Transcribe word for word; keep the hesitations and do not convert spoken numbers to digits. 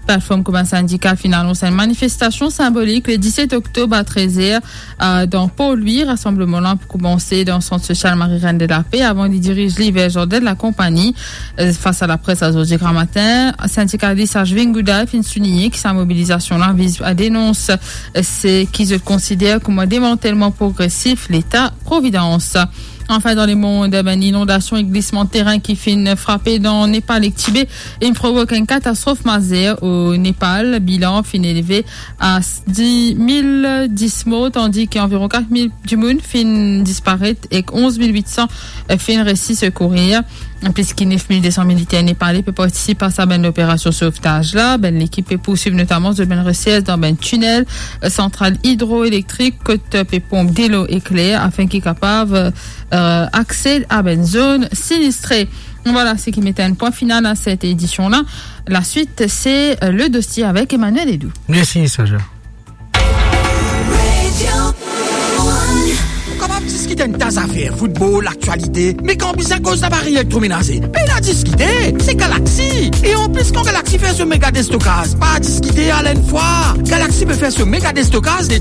Platform Komin Sindikal finn anons enn manifestasion sinbolik le diset oktob a trez er, euh, dan Port Louis. Rasanbleman la pou koumanse dan sant sosial Marie-Reine de la Paix avan li diriz li ver zardin de la konpani. Euh, fas a lapres azordi gramatin, sindikalis Ashwin Goodall finn souligne ki sa mobilizasion la viz a denons, euh, seki zot konsider kouma demantelman progresif Leta Providans. Anfin, dan lemond, eh ben, inondasion ek glisman terin ki finn frape dan Nepal ek Tibe, inn provok enn katastrof mazer o Nepal. Bilan finn elve a dis mil dis mor, tandi ki anviron kat mil dimoun finn disparet ek onz mil wit san finn resi sekourir. Plis ki nef mil de san militer nepale pe partisip a sa bann operasion sovtaz la. Bann lekip pe pourswiv notaman zot bann resers dan bann tinel, santral idroelektrik kot pe ponp delo ekler, afin ki kapav, euh, aksed a bann zone sinistre. Vwala seki met enn pwin final a set edision la. Laswit, se, euh, le dosie avek Emmanuel Edou. Mersi, Saja. Ou kapav diskit enn ta zafer, foutbol, laktialite, me kan bizin koz laparey elektromenaze, pena diskite, se Galaxy. E anplis, kan Galaxy fer so mega destokaz, pa diskite, al enn fwa. Galaxy pe fer so mega destokaz de